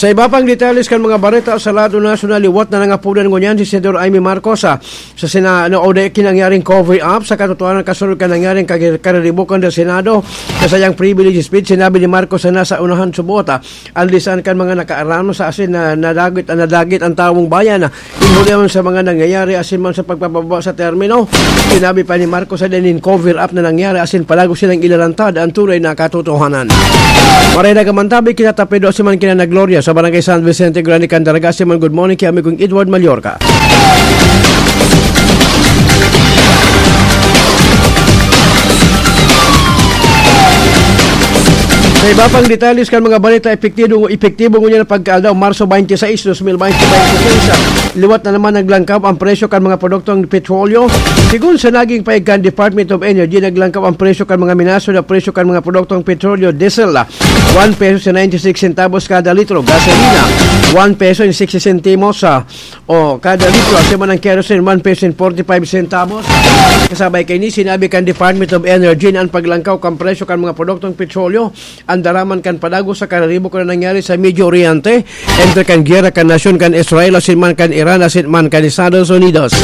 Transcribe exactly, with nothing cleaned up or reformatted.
Sa iba pang detalles kan mga bareta sa lado nasyonal, liwat na nangapodan ngunyan si Senador Imee Marcos, ah, sa Sena-, ano, o dai kinangyaring cover up sa katotohanan kasunod kan nangyaring kagir-, kariribukan sa Senado. Sa sayang privilege speech, sinabi ni Marcos na nasa unahan subot, ah, ang lisan kan mga nakaaram sa asin na nadagit, nadagit ang tawong bayan, ah, in huli man sa mga nangyayari asin man sa pagpapababa sa termino. Sinabi pa ni Marcos na nin cover up na nangyari asin palago silang ilalantad ang tunay na katotohanan. Maray na gaman tabi, kinatapedo si man kinanagloria sa Barangay San Vicente Grande, Candaraga, si man good morning kay amigong Edward Mallorca. Sa iba pang detalles kan mga balita, epektibo, epektibo ngunyan ang pagkaaldaw, Marso twenty-six, twenty twenty-six. Liwat na naman naglangkaw ang presyo kan mga produktong petrolyo. Sigun sa naging pahayag kan Department of Energy, naglangkaw ang presyo kan mga minaso na presyo kan mga produktong petrolyo, diesel, ah, one peso sa ninety-six centavos kada litro. Gasolina, one peso and sixty centimos, ah, o kada litro. Asin man ang kerosene, one peso and forty-five centavos. Kasabay kaini, sinabi kan Department of Energy na ang paglangkaw kan presyo kan mga produktong petrolyo, ang daraman kan padago sa kariribo kan nangyari sa Medio Oriente, entre kan giyera kan nasyon kan Israel asin man kan Iran asin man kan Estados Unidos.